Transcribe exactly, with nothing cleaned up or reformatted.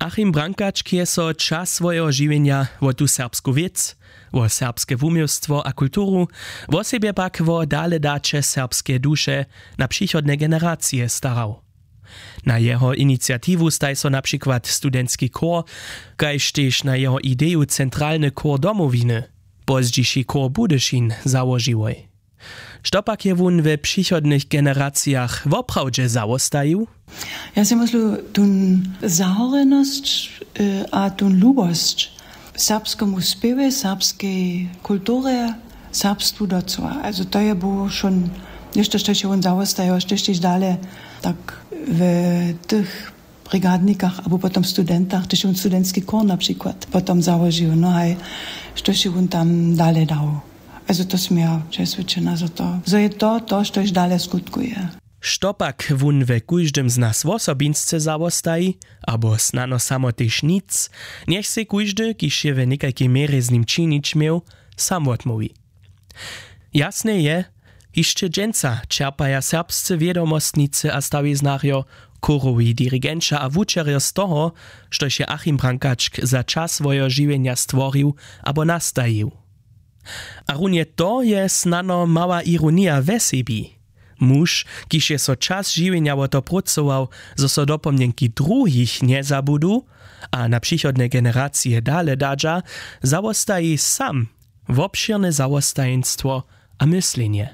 Achim Brankačk je so čas swojeho žiwjenja wo tu serbsku wěc, wo serbske wuměłstwo a kulturu, wosebje pak wo daledaće serbskeje duše na přichodne generacije starał. Na jeho iniciatiwu staj so na přikład studentski chór, kaž tež na jeho ideju centralny chór Domowiny, pozdźiši chór Budyšin, załožiłoj. Što pak je wón we přichodnych generacijach woprawdźe zawostajił? Ja sej myslu, tón zahorenosć a tón lubosć serbskemu spěwje, serbskej kulturje, serbstwu docyła. Alzo to je było wšón něšto, štož je wón zawostajił, štož tež dale tak w tych brigadnikach abo potom studentach, tež je wón studentski chór na přikład potom załožił, no haj, štož je wón tam dale dał. Alzo to směja přeswědčena za to, zo je to to, štož dale skutkuje. Što pak wón we kóždym z nas wosobinsce zawostaji, abo snano samo tež nic, njech sej kóždy, kiž je we někajkej měrje z nim činić měł, sam wotmołwi. Jasne je, hišće dźensa čerpaja serbscy wědomostnicy a stawiznerjo, chórowi dirigenća a wučerjo z toho, štož je Achim Brankačk za čas swojeho žiwjenja stworił abo nastajił. A runje to je snano mała ironija we sebi. Muž, kiž je so čas žiwjenja wo to prócował, zo so dopomnjenki druhich njezabudu a na přichodne generacije dale dadźa, zawostaji sam wobšěrne zawostajeństwo a myslenje.